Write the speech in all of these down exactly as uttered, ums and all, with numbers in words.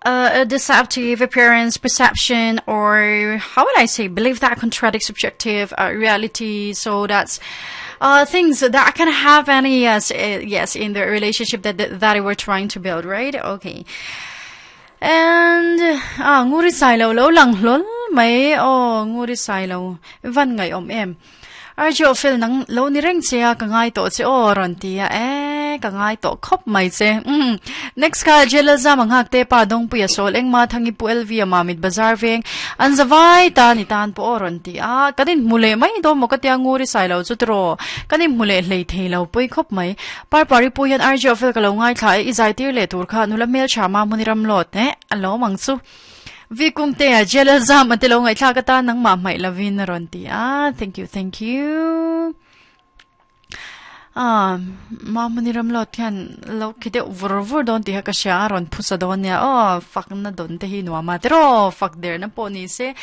uh, a deceptive appearance, perception, or how would I say, belief that contradicts objective uh, reality. So that's uh, things that can happen, yes, uh, yes, in the relationship that, that that we're trying to build, right? Okay. And ah nguri sai lo lo lang hlol mai o nguri sai lo van ngai om em Arjo fel nang lo ni reng che a ka ngai to che o ron ti a e ka ngai to khop mai che mm next ka jela za manghak te pa dong puya sol eng ma thangi pu lv ma mit bazar veng an zawai ta ni tan po ron ti a kanin mule mai do mo ka tia nguri sai lo chu tro kanin mule hlei thei lo pui khop mai par pari pu hian arjo fel ka lo ngai thla i zai tir le tur kha nula mel chama muniram lot ne alo mang chu vi kung te a jela zam ate lo ngai thla ka ta nang ma mai lavin ron ti a thank you thank you ah ma muniram lot hian lo khide vur vur don ti ha ka sha ron phusa don nia o fak na don te hi nuama te ro fak der na po ni se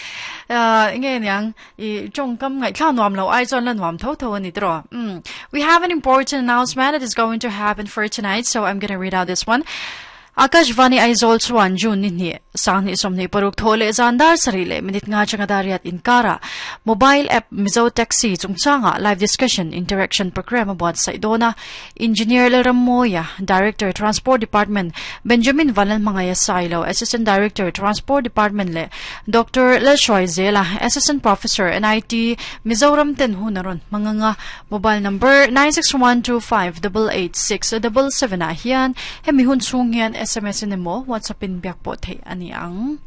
ah nge niang i chong kam ngai thla nuam lo ai chon la nuam tho tho ani tro mm we have an important announcement that is going to happen for tonight so i'm going to read out this one Akashvani Aizawl chuan June ni hnih sanghnih sawmhnih paruk thaw leh zan dar sarih leh minute nga changa dariat inkara mobile app Mizo Taxi chungchanga live discussion interaction program a buatsaih dawn a Engineer Lalrammoia Director Transport Department Benjamin Vanlalhmangaiha Sailo Assistant Director Transport Department leh Doctor Lalhruai Zela Assistant Professor NIT Mizoram ten hun a rawn hmang anga mobile number nine six one two five double eight six double seven ah hian hemi hun chhung hian SMS in emaw WhatsApp in biak pawh theih ani ang.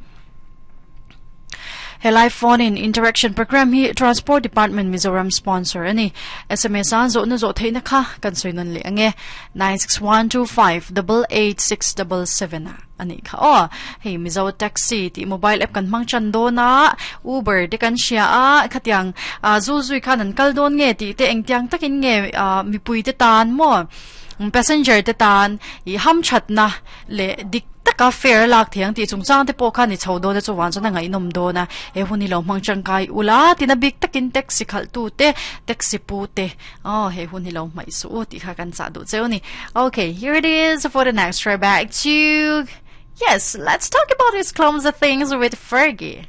He live phone in interaction program hi Transport Department Mizoram sponsor ani. SMS an zawh na zawh theihna kha kan sawi nawn leh ange nine six one two five double eight six double seven ah ani kha aw. Hei Mizo Taxi tih mobile app kan hmang chan dawn a Uber te kan hria a khatiang zu zui khan an kal dawn nge tih te engtiang takin nge mipui te tan maw passenger te tan i ham that na le dik taka fare lak thiang ti chungchang te pawh khan i chho dawn a chuwan chuan a ngaihnawm dawn a he hun hi lo hmang tangkai ula tina bik takin taxi khalh tu te taxi pu te aw he hun hi lo hmaih suh u tih kha kan chah duh cheu ni okay here it is for the next try back to yes let's talk about these clumsy things with Fergie